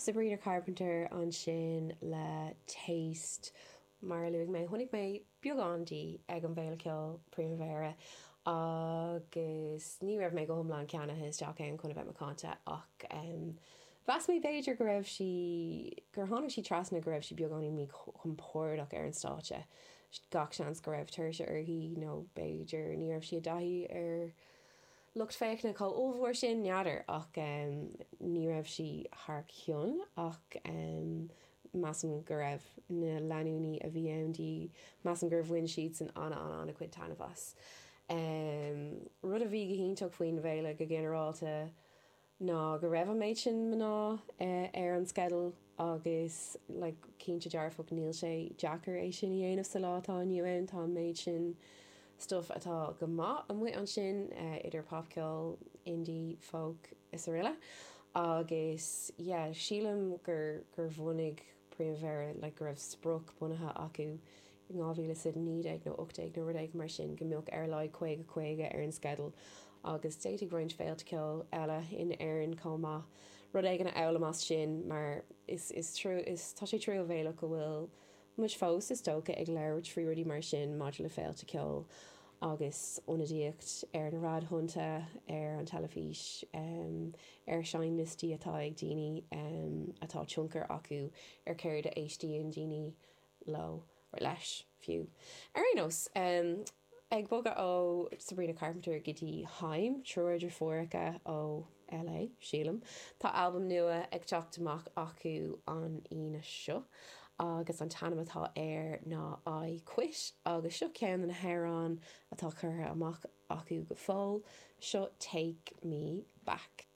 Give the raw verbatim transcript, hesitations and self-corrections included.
Sabrina Carpenter ansin le Taste mar a luaigh mé chonaic mé beagán di ag an bhFéile Ceoil Primavera agus ní raibh mé go hiomlán ceannaithe isteach ann chun a bheith macánta ach um, Mheas mé b'fhéidir go raibh sí gur tháinig sí trasna go raibh sí beagáinín míchompordach ar an stáitse. Gach seans go raibh tuirse uirthi nó b'fhéidir ní raibh sí i dtaithí ar lucht féachana chomh ollmhór sin n'fheadar ach um, ní raibh sí thar cionn ach um, measaim go raibh na leanúnaí a bhí ann di measaim gur bhain siad san ana ana ana cuid taitneamh as. Um, rud a bhí go hiontach faoin bhféile go ginearálta ná go raibh an méid sin mná uh, ar an sceideal agus like, cinnte dearfach níl sé deacair é sin a dhéanamh sa lá atá inniu ann tá an méid sin stuff atá go maith amuigh ansin uh, idir popcheol, indie, folk is araile. Agus yeah, sílim gur gur bhunaigh Primavera like, go raibh sprioc bunaithe acu in dhá mhíle is a naoi déag nó ocht déag nó rud éigin mar sin go mbeadh ar a laghad caoga caoga ar an sceideal agus d'fhéadfadh roinnt féilte ceoil eile in Éirinn chomh maith rud éigin a fhoghlaim as sin mar is is trua is tá sé truamhéalach go bhfuil muid fós is dócha ag labhairt faoi rudaí mar sin maidir le féilte ceoil agus ionadaíocht ar na raidiónna ar an teilifís um, ar seinnliostaí atá ag daoine um, atá tionchar acu ar céard a éistíonn daoine leo or leis fiú. Ar aon nós um, ag bogadh ó Sabrina Carpenter go dtí Haim triúr deirfiúracha ó LA sílim. Tá albam nua ag teacht amach acu an Aoine seo agus an t-ainm atá air ná I Quit agus seo ceann de na hamhráin atá curtha amach acu go fóill seo Take Me Back.